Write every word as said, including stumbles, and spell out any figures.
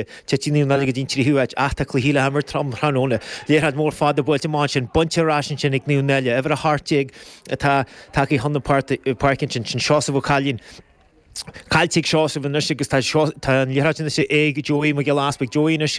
Titfidh Naomh Náille go dtí an tríú háit ach tá cluichí le himirt um thráthnóna. Liathróid mór fada buailte amach ansin, bainte ar ais ansin ag Naomh Náille. Uimhir a hocht déag atá tagtha chun na páirce ansin, sin Seosamh Ó Cailín. Caillte ag Seosamh anois agus tá tá an liathróid anois ag Joey Mac Giolla Easpaig. Joey anois